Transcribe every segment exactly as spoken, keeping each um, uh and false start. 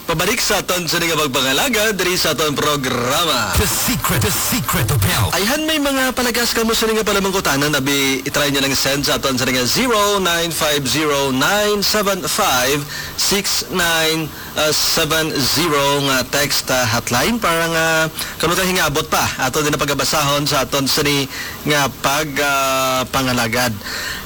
Pabalik sa aton sini nga pagpangalagad diri sa aton programa. The Secret, The Secret of Health. Ayhan, may mga palagas kamo sini nga palamangkutanan, abi i-try nyo lang send sa aton sini nga zero nine five zero nine seven five six nine seven zero nga text, ah, hotline para nga kamo ka hingabot pa aton din pagabasahon sa aton sini nga pag, ah, pangalagad.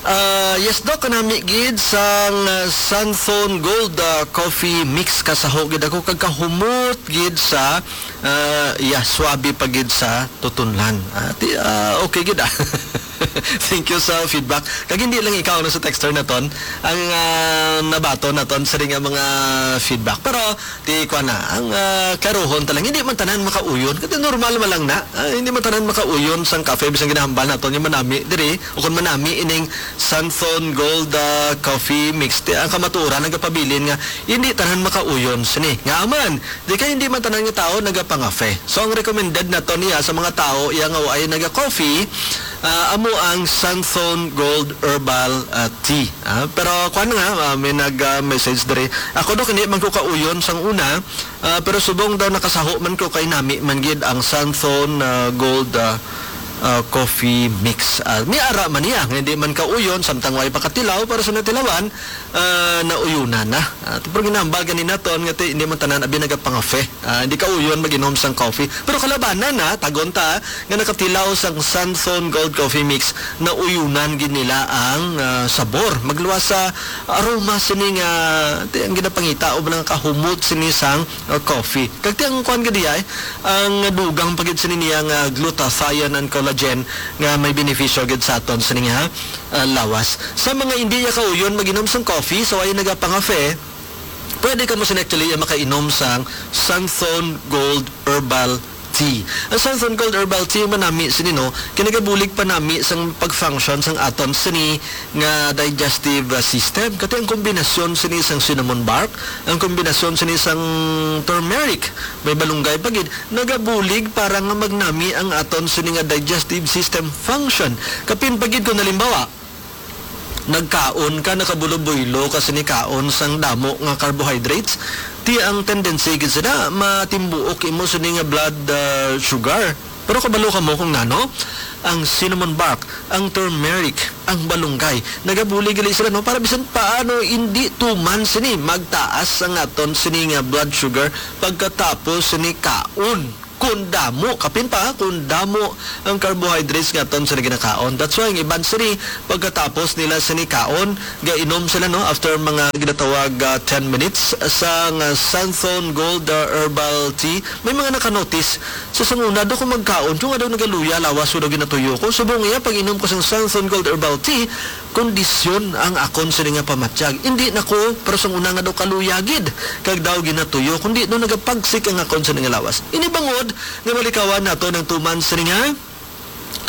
Ah, yes, Doc, kanami gid sang, ah, Santhon Gold, ah, Coffee Mix, kasaho gid ako kag kahumot gid sa, ah, iya, swabe pa gid sa tutunlan. Ah, ti-, ah, okay gid, ah. Thank you sa feedback. Kag hindi lang ikaw, no, sa texter naton ang, ah, nabaton naton sa nga mga feedback. Pero ti kuan na, ang, ah, klaruhon ta lang, hindi man tanan makauyon. Kasi normal man lang na. Ah, hindi man tanan makauyon sang kape, bisan ginahambal naton yung manami diri, o kung manami ining Santhon Gold, ah, Coffee Mix. Ti, ang kamatuoran nagapabilin nga hindi tanan makauyon sini. Nga man, di kay hindi man tanan nga tao nagapangafe. So, ang recommended nato niya sa mga tao iya nga waay naga-coffee, ah, amo ang Santhon Gold Herbal, ah, Tea. Ah, pero kuan nga, ah, may nag, ah, message diri. Ako daw, hindi man ko kauyon sang una, ah, pero subong daw nakasaho man ko kay nami man gid ang Santhon, ah, Gold, ah, ah, Coffee Mix. Ah, may ara man niya, nga hindi man kauyon, samtang way pakatilaw, para sa natilawan, ah, nauyunan na. Ah, pero ginambal gani naton nga ti-, hindi man tanan abi nagapangafe. Ah, hindi kauyon mag-inom sang coffee. Pero kalabanan na, tagon ta, nga nakatilaw sang Santhon Gold Coffee Mix, nauyunan gid nila ang, ah, sabor. Magluwas sa aroma sini nga, ti-, ang ginapangita o mga kahumot sini sang, ah, coffee. Kag ti ang kuan gid diay, ang dugang pa gid sini niya nga glutathione and collagen nga may benepisyo gid sa aton sini nga, ah, lawas. Sa mga hindi ya kauyon mag-inom sang coffee, sa way nagapangafe, pwede kamo sini actually makainom sang Santhon Gold Herbal Tea. Ang Santhon Gold Herbal Tea manami sini, no, kinagabulig pa nami sang pag-function sang aton sini nga digestive, uh, system. Kati ang kombinasyon sini sang cinnamon bark, ang kombinasyon sini sang turmeric, may balunggay pa gid, nagabulig para nga magnami ang aton sini nga digestive system function. Kapin pa gid kung halimbawa, nagkaon ka, nakabulobuylo ka sini kaon sang damo nga carbohydrates, ti ang tendency gid sina matimbuok imo sini nga blood, ah, sugar. Pero kabalo kamo kung nano? Ang cinnamon bark, ang turmeric, ang balunggay, nagabulig gali sila, no? Para bisan paano hindi tuman sini magtaas ang aton sini nga blood sugar pagkatapos sini kaon. Kung damo, kapin pa, kung damo ang carbohydrates nga aton sila ginakaon. That's why ang iban sini, pagkatapos nila sini kaon, gainom sila, no, after mga ginatawag, ah, ten minutes sang, ah, Santhon Gold, ah, Herbal Tea. May mga nakanotice sa sanguna daw kung magkaon, kung nga daw nagaluya lawas ko daw ginatuyo ko. Subong iya, pag-inom ko sang Santhon Gold Herbal Tea, kondisyon ang akon sini nga pamatyag. Indi na ko, pero sang una nga daw kaluya gid, kag daw ginatuyo, kundi daw nagapagsik ang akon sini nga lawas. Ini bangod nga malikawan nato nang tuman sini nga,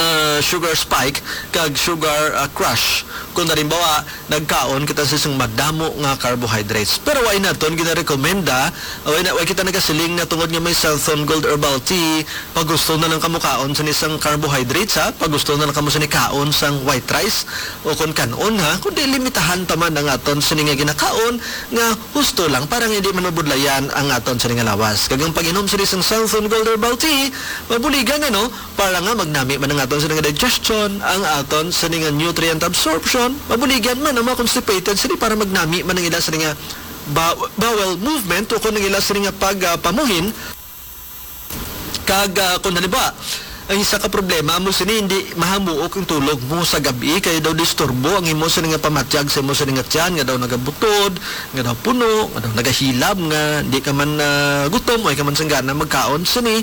ah, sugar spike kag sugar, ah, crash. Kung halimbawa, nagkaon kita sa isang madamo nga carbohydrates. Pero wa naton ginarekomenda, wa na, wa kita nagasiling na tungod nga may Santhon Gold Herbal Tea, pagusto na lang kamo kaon sa isang carbohydrates, ha? Pagusto na lang kamo sa nikaon sang white rice o kon kan-on, ha? Kundi limitahan ta man ang aton sini nga ginakaon nga husto lang para nga hindi man mabudlayan ang aton sini nga lawas. Kag ang pag-inom sini sang Santhon Gold Herbal Tea, mabuligan na, no? Para nga magnami man ang aton sini nga digestion, ang aton sini nga nutrient absorption, mabuligan man ang mga constipated sini para magnami man ang ila sini nga bow-, bowel movement o kung ang ila sini nga pag, ah, pamuhin. Kag, ah, kung halimbawa, ang isa ka problema mo sini, hindi mahamuok ang tulog mo sa gabi, kay daw disturbo ang imo sini nga pamatyag sa imo sini nga tiyan, nga daw nagabutod, nga daw puno, nga daw nagahilab, nga di ka man, ah, gutom, o ka man sanggana magkaon sini,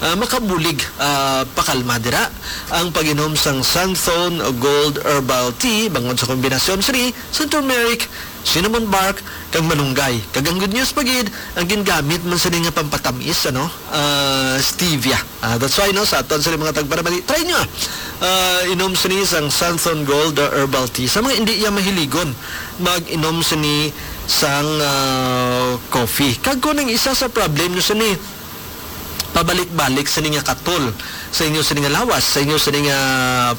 ah, makabulig, ah, pakalma dira ang pag-inom sang Santhon Gold Herbal Tea bangod sa kombinasyon sini sa turmeric, cinnamon bark, kag malunggay. Kag ang good news pa gid, ang gingamit man sini nga pampatamis, ano, ah, stevia. Ah, that's why, no, sa aton sini mga tagparamali, try nyo, ah. Ah, inom sini sang Santhon Gold, ah, Herbal Tea. Sa mga hindi iya mahiligon, mag-inom sini sang, ah, coffee. Kag kung ang isa sa problem nyo sini, pabalik-balik sini nga katol sa inyo sini nga lawas, sa inyo sini nga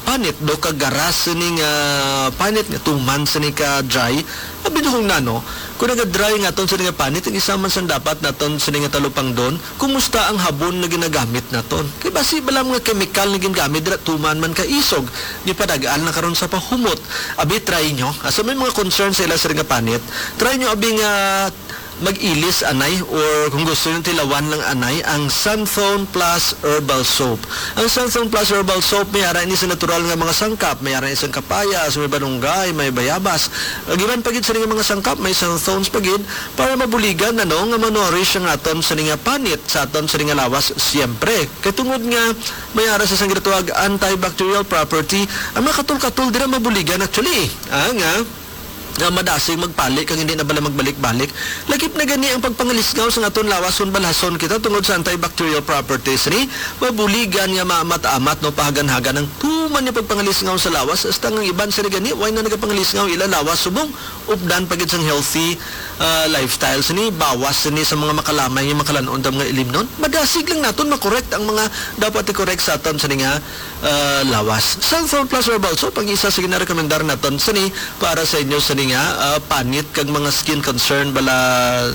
panit, daw kagaras sini nga panit nga tuman sini ka dry. Abi na kung nano, Kung naga-dry nga aton sini nga panit, ang isa man sang dapat naton sini nga talupangdon, kumusta ang habon nga ginagamit naton? Kay basi bala mga kemikal nga ginagamit dira, tuman man ka isog, gipadag-an na karon sa pahumot. Abi, try nyo. Asa may mga concern sa ila sini nga panit, try nyo abi nga mag-ilis anay, or kung gusto nyo tilawan lang anay, ang Santhon Plus Herbal Soap. Ang Santhon Plus Herbal Soap may ara ini sa natural nga mga sangkap, may ara ini sang kapayas, may banunggay, may bayabas. Giban pa gid sini nga mga sangkap, may santhones pa gid para mabuligan, ano, nga ma-nourish ang aton sini nga panit sa aton sini nga lawas, siyempre. Kay tungod nga may ara sa sang ginatawag antibacterial property, ang mga katol-katol dira mabuligan actually. Ah, nga nga madasig magpali kag hindi na bala magbalik-balik. Lakip na gani ang pagpangalisngaw sa aton lawas kon balhason kita tungod sa antibacterial properties ni, mabuligan nga maamat-amat, no, pahagan-hagan ang tuman nga pagpangalisngaw sa lawas, hasta nga ang iban sila gani way na nagapangalisngaw ila lawas subong updan pa gid sang healthy, ah, lifestyle sini, bawas sini sa mga makalamay nga makalan-on ta mga ilimnon. Madasig lang naton makorek ang mga dapat i-correct sa aton sini nga ah, lawas. Santhon Plus Herbal Soap ang isa sa ginarekomendar naton sini para sa inyo sini nga, ah, panit kag mga skin concern bala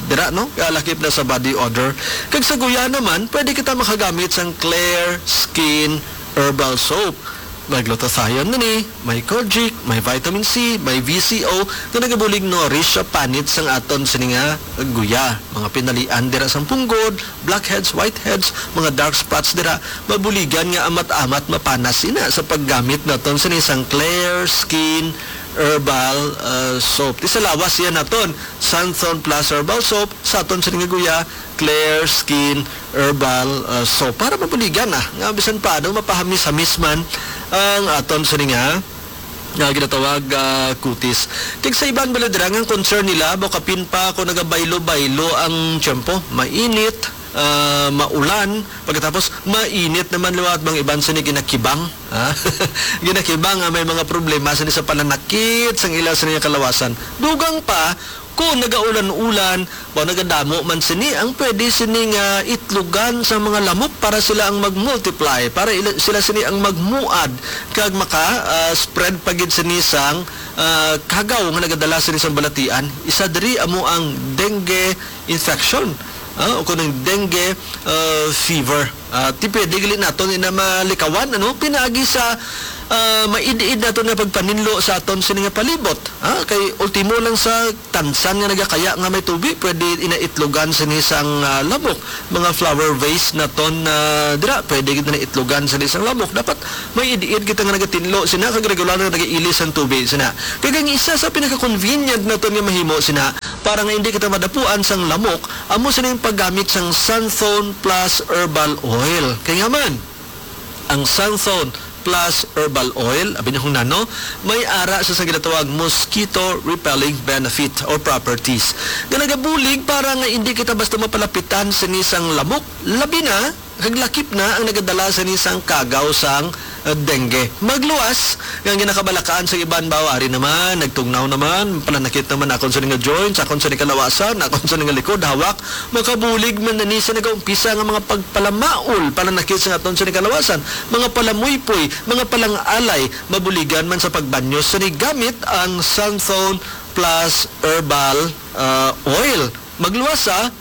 dira, no? Ah, lakip na sa body odor. Kag sa guya naman, pwede kita makagamit sang Clear Skin Herbal Soap. May glutathione na ni, may kojic, may vitamin C, may V C O nga nagabulig nourish sa panit sang aton sini nga guya. Mga pinalian dira sang punggod, blackheads, whiteheads, mga dark spots dira, mabuligan nga amat-amat mapanas ina sa paggamit naton sini sang Clear Skin Herbal, uh, Soap. Ti sa lawas iya naton, Santhon Plus Herbal Soap, sa aton sini nga guya, Clear Skin Herbal, uh, Soap. Para mabuligan na, nga bisan paano mapahamis-hamis man ang aton sini nga nga ginatawag, ah, kutis. Kag sa iban bala dira nga ang concern nila, baw kapin pa kung nagabaylo-baylo ang tiyempo, mainit, ah, maulan, pagkatapos mainit naman liwat bang iban sini ginakibang, ah. Ginakibang nga may mga problema sini sa pananakit sang ila sini nga kalawasan. Dugang pa, kung nagaulan-ulan, baw nagadamo man sini, ang pwede sini nga itlogan sa mga lamok para sila ang mag-multiply, para ila, sila sini ang magmuad kag maka, ah, spread pa gid sini sang, ah, kagaw nga nagadala sini sang balatian. Isa diri amo ang dengue infection, ah, o kuno ang dengue, ah, fever. Ah, ti pwede gali naton ina malikawan, ano, pinaagi sa, ah, maid-id naton nga pagpaninlo sa aton sini nga palibot, ah, kay ultimo lang sa tansan nga nagakaya nga may tubi, pwede ina itlogan sini sang, ah, lamok. Mga flower vase naton, ah, dira, pwede gid na itlogan sini sang lamok. Dapat may id-id kita nga nagatinlo sina kag regular nga nagailis sang tubi sina. Kag ang isa sa pinaka-convenient naton nga mahimo sina para nga hindi kita madapuan sang lamok, amo sini ang paggamit sang Santhon Plus Herbal Oil. Kay nga man, ang Santhon Plus Herbal Oil, abi na kung nano, may ara sa, sa ginatawag mosquito repelling benefit or properties nga nagabulig para nga hindi kita basta mapalapitan sini sang lamok, labi na kag lakip na ang nagadala sini sang kagaw sang, uh, dengue. Magluwas nga ang ginakabalakaan sa iban, baw, ari naman, nagtugnaw naman, pananakit naman akon sini nga joints, akon sini kalawasan, akon sini nga likod, hawak, makabulig man na ni sa nagaumpisa nga mga pagpalamaol, pananakit sa aton sini kalawasan, mga palamuypoy, mga palangalay, mabuligan man sa pagbanyo sini gamit ang Santhon Plus Herbal, ah, Oil. Magluwas sa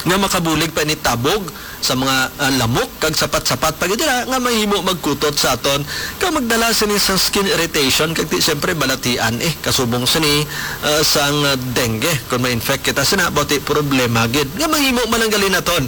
nga makabulig pa ini tabog sa mga, ah, lamok kag sapat-sapat pa gid dira nga mahimo magkutot sa aton kag magdala sini sa skin irritation kag ti siyempre balatian, eh, kasubong sini, ah, sang dengue. Kung ma-infect kita sina, bati problema gid nga mahimo man ang gali naton.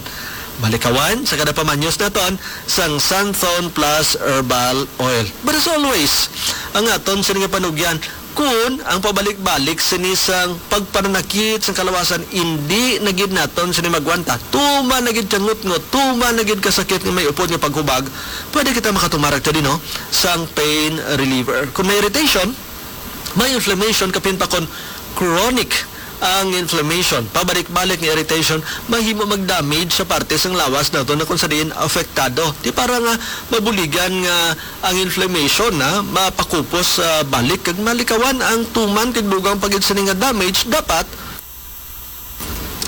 Malikawan sa kada pamanyos naton sang Santhon Plus Herbal Oil. But as always, ang aton sini nga panugyan, kun ang pabalik-balik sini sang pagpananakit sang kalawasan, indi na gid naton sini magwanta. Tuman na gid siya ngutngot, tuman na gid kasakit nga may upod nga paghubag, pwede kita makatumar actually, no, sang pain reliever. Kung may irritation, may inflammation, kapin pa kon chronic ang inflammation, pabalik-balik nga irritation, mahimo mag-damage sa parte sang lawas nato na kung sa diin apektado. Di para nga mabuligan nga ang inflammation na mapakupos, ah, balik kag malikawan ang tuman kag dugang pa gid sini nga damage, dapat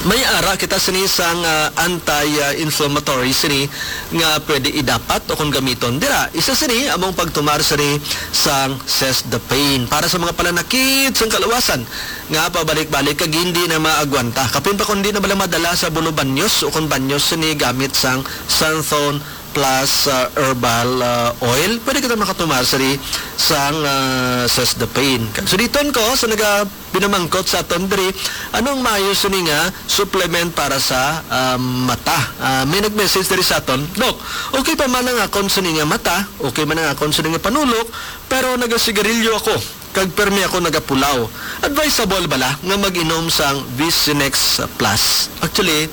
May ara kita sini sang, ah, anti-inflammatory sini nga pwede idapat o kon gamiton. Dira, isa sini among pagtumar sini sang Sesdapine para sa mga pananakit sang kalawasan nga pabalik-balik kag hindi na maagwanta. Kapin pa kung di na bala madala sa bulo banyos o kon banyos sini gamit sang Santhon plus, ah, herbal, ah, oil, pwede kita makatumar sini sang, ah, Sesdapine. Kag suliton ko sa naga pinamangkot sa aton diri, anong maayo sini nga supplement para sa, ah, mata? Ah, may nag-message diri sa aton, "Doc, okay pa man ang akon sini nga mata, okay man ang akon sini nga panulok, pero nagasigarilyo ako, kag permi ako nagapulaw. Advisable bala nga mag-inom sang Vicinex Plus?" Actually,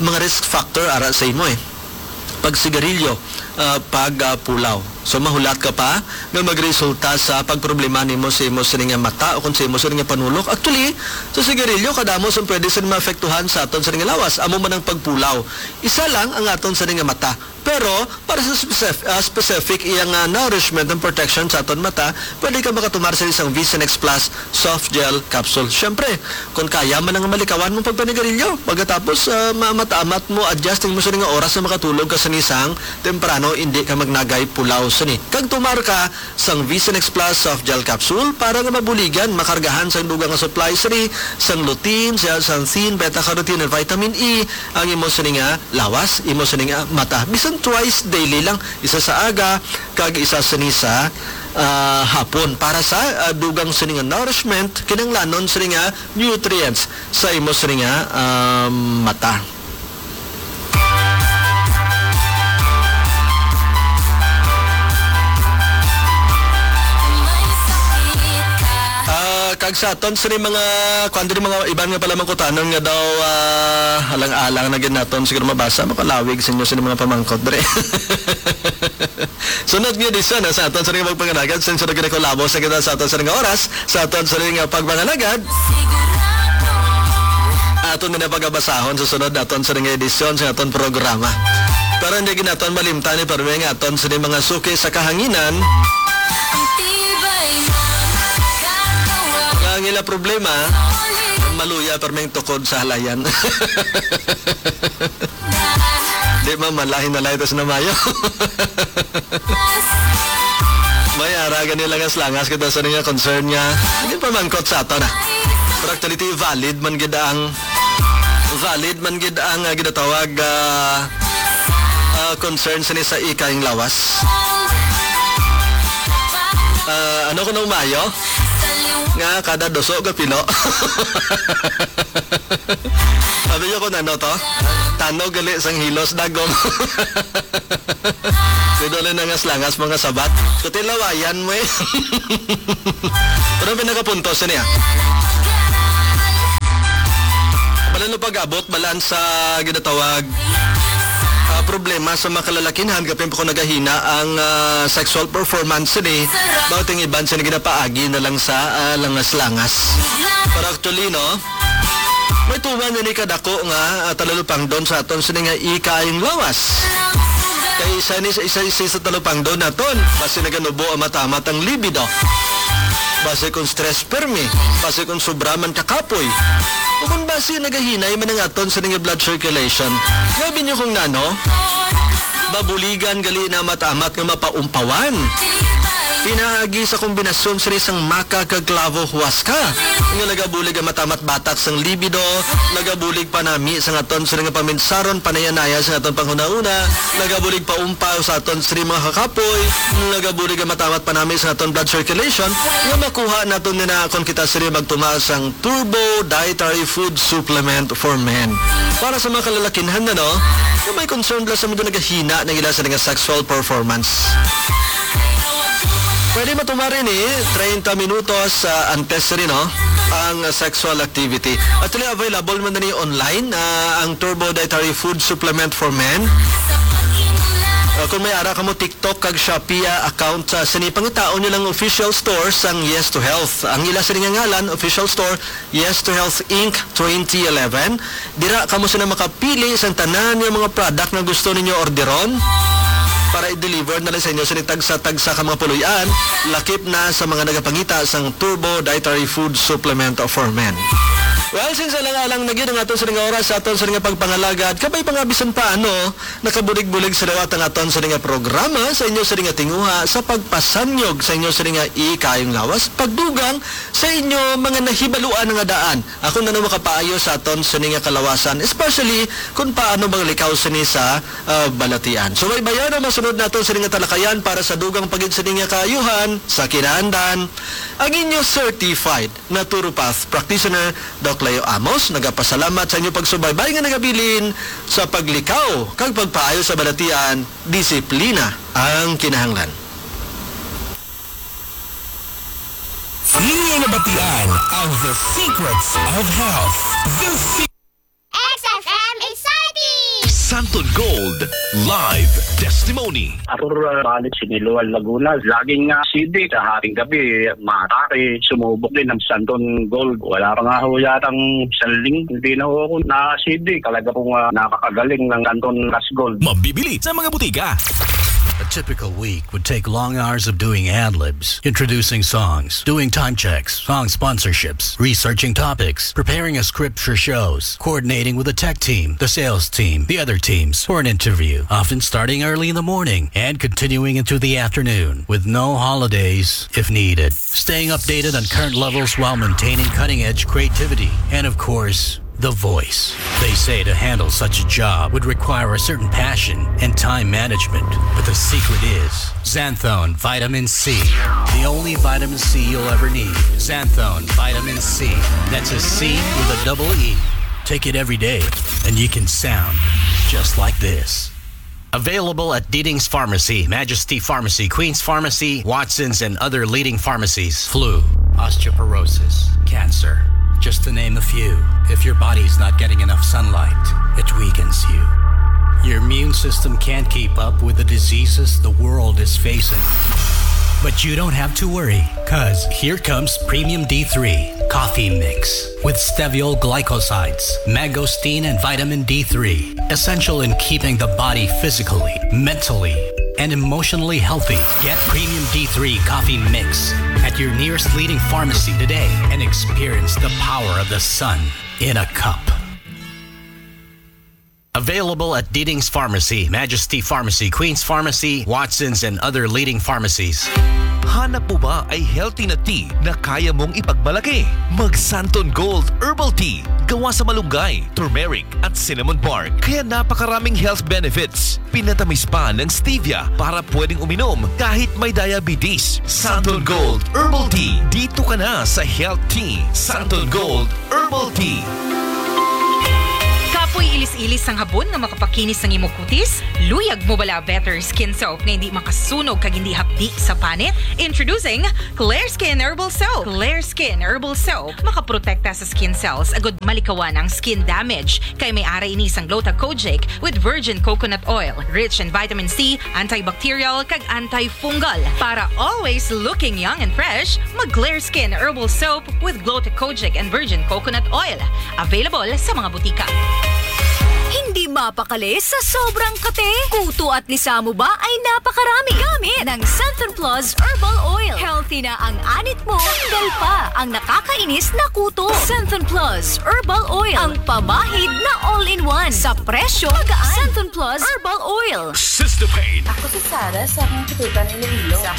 mga risk factor ara sa imo eh. Pagsigarilyo, ah, pag, ah, pulaw. So, mahulat ka pa nga magresulta sa pagproblema nimo sa imo sini nga mata o kung sa imo sini nga panulok. Actually, sa sigarilyo, kadamo sang pwede sini maapektuhan sa aton sini nga lawas. Amo man ang pagpulaw. Isa lang ang aton sini nga mata. Pero, para sa specif-, ah, specific, iyang, ah, nourishment and protection sa aton mata, pwede ka makatumar sa isang Vision X Plus soft gel capsule. Siyempre, kung kaya man ang malikawan mong pagpanigarilyo, pagkatapos, ah, ma-, mata-, mat mo adjust ang imo sini nga oras na makatulog ka sa isang temprano, hindi ka magnagay pulaw sini. Kag tumar ka sang Vision X Plus soft gel capsule para nga mabuligan, makargahan sang dugang nga supply sini sang lutein, zeaxanthin, beta-carotene, and vitamin E ang imo sini nga lawas, imo sini nga mata. Bisan twice daily lang, isa sa aga, kag isa sini sa, ah, hapon. Para sa, ah, dugang sini nga nourishment, kinahanglanon sini nga nutrients sa imo sini nga, ah, mata. Ah, kag sa aton sini mga, kuwan diri, mga iban nga pala mangkutanon nga daw, ah, alang-alang na gid naton siguro mabasa, makalawig sa inyo sini mga pamangkot diri. Sunod nga edisyon, ah, sa aton sa nga pagpangalagad, since nagkinakulabo sa kita sa aton sa nga oras, sa aton sa nga pagpangalagad, aton na pagabasahon sa sunod naton sa nga edisyon sa aton programa. Pero hindi gid naton malimtan ni permi nga aton sa mga suki sa kahanginan. Ang ila problema, maluya permi ang tukod sa halayan. Di man malain na light na mayo. May ara gani langas-langas kita sa nga concern nga. Hindi pa mangkot sa ato na. Pero actually, valid man gid ang, valid man gid ang, ah, ginatawag, ah, ah, concern sini sa ikaing lawas. Ah, ano ko nung mayo? Nga kada duso ka pilo. Sabi niyo kung ano to? Tanog gali sang hilos, dagom. Pwede ulit nangas-langas, mga sabat. Kutilawayan mo eh. Pero ang pinakapunto, sini ah. Bala no pag-abot, balaan sa ginatawag, ah, problema sa mga kalalakinhan, kapin pa ko nagahina ang, ah, sexual performance sini, bawat ang iban sini ginapaagi na lang sa, ah, langas-langas. Pero actually, no? May tuman na ni kadako nga, ah, talulupangdon sa aton sini nga ikaayong lawas. Kay isa ni sa isa, isa sa talupangdon naton, basi naganubo ang matamat ang libido. Basi kung stress permi, basi kung sobra man kakapoy. O kung basi nagahinay man ang aton sini nga blood circulation. Grabe niyo kung nano, mabuligan gali na matamat nga mapaumpawan. Pinaagi sa kombinasyon sini sang maca kag clavo huasca, nga nagabulig ang matamat batak sang libido, nagabulig panami sa aton sini nga paminsaron, panaya-naya sa aton panghunahuna, nagabulig paumpaw sa aton sini mga kakapoy, nagabulig ang matamat panami sa aton blood circulation, nga makuha naton nina kon kita sini magtumal sang Turbo Dietary Food Supplement for Men. Para sa mga kalalakinhan na, no, nga may concern bala sa mga nagahina ng ila sa nga sexual performance. Pwede matumar ini treinta minutos, ah, antes rin, no, ang sexual activity. Actually, available man na ni online, ah, ang Turbo Dietary Food Supplement for Men. Ah, kung may ara ka mo TikTok kag Shopee, ah, account, ah, sini pangitaon nyo lang official store sang Yes to Health. Ang ila sini nga ngalan, official store, Yes to Health Inc twenty eleven. Dira kamo sina makapili sang tanan nga mga product nga gusto ninyo orderon para i-deliver na lang sa inyo sini tagsa-tagsa ka mga puloy-an, lakip na sa mga nagapangita sang Turbo Dietary Food Supplement for Men. Well, sinsa lang alang na gyud ang aton sa nga oras, sa aton sa nga pagpangalagad, kabay pa nga bisan pa ano, nakabulig-bulig sa liwat ang aton sa nga programa, sa inyo sa nga tinguha, sa pagpasanyog sa inyo sa nga ikayong lawas, pagdugang sa inyo mga nahibaluan nga daan. Ako na no makapaayo sa aton sa nga kalawasan, especially kung paano maglikaw sini sa ah, balatian. So, may bayan ang masunod naton sa nga talakayan para sa dugang pagid sa nga kaayuhan sa kinaandan. Ang inyo certified naturopath practitioner, Doc Leo Amos, nagapasalamat sa inyo pagsubaybay nga nagabilin sa paglikaw kag pagpaayo sa balatian, disiplina ang kinahanglan. Inyo nabatian ang The Secrets of Health. The Se- X F M Exciting! Santon Gold Live Testimony. Arthur, uh, balik Siniloan, Laguna. Laging uh, C D sa hating gabi, matake, sumubok din ang Santon Gold. Wala pa nga ho yatang isang linggo, hindi na ho ako na-C D. Talaga pong uh, nakakagaling ng Santon Cash Gold. Mabibili sa mga butika. A typical week would take long hours of doing ad libs, introducing songs, doing time checks, song sponsorships, researching topics, preparing a script for shows, coordinating with the tech team, the sales team, the other teams for an interview, often starting early in the morning and continuing into the afternoon, with no holidays if needed. Staying updated on current levels while maintaining cutting edge creativity, and of course, the voice. They say to handle such a job would require a certain passion and time management. But the secret is Xanthone Vitamin C, the only vitamin C you'll ever need. Xanthone Vitamin C. That's a C with a double E. Take it every day, and you can sound just like this. Available at Diding's Pharmacy, Majesty Pharmacy, Queen's Pharmacy, Watson's, and other leading pharmacies. Flu, osteoporosis, cancer, just to name a few. If your body's not getting enough sunlight, it weakens you. Your immune system can't keep up with the diseases the world is facing. But you don't have to worry, because here comes Premium D three Coffee Mix with steviol glycosides, mangosteen, and vitamin D three, essential in keeping the body physically, mentally, and emotionally healthy. Get Premium D three Coffee Mix at your nearest leading pharmacy today and experience the power of the sun in a cup. Available at Diding's Pharmacy, Majesty Pharmacy, Queen's Pharmacy, Watson's, and other leading pharmacies. Hanap mo ba ay healthy na tea na kaya mong ipagmalaki? Mag Santon Gold Herbal Tea. Gawa sa malunggay, turmeric, at cinnamon bark. Kaya napakaraming health benefits. Pinatamis pa ng stevia para pwedeng uminom kahit may diabetes. Santon Gold Herbal Tea. Dito ka na sa Health Tea. Santon Gold Herbal Tea. Kapoy ilis-ilis sang habon nga makapakinis sang imo kutis? Luyag mo bala better skin soap nga hindi makasunog kag hindi hapdi sa panit? Introducing Clear Skin Herbal Soap. Clear Skin Herbal Soap makaprotekta sa skin cells agud malikawan ang skin damage, kay may ara ini sang Gluta Kojic with virgin coconut oil, rich in vitamin C, antibacterial, kag antifungal. Para always looking young and fresh, mag Clear Skin Herbal Soap with Gluta Kojic and virgin coconut oil. Available sa mga butika. Hindi mapakali sa sobrang kape. Kuto at lisa mo ba ay napakarami? Gamit ng Santon Plus Herbal Oil. Healthy na ang anit mo, tanggal pa ang nakakainis na kuto. Santon Plus Herbal Oil, ang pamahid na all-in-one sa presyo magaan. Santon Plus Herbal Oil. Sister Pain. Ako si Sarah sa akong katutan Iloilo. Sa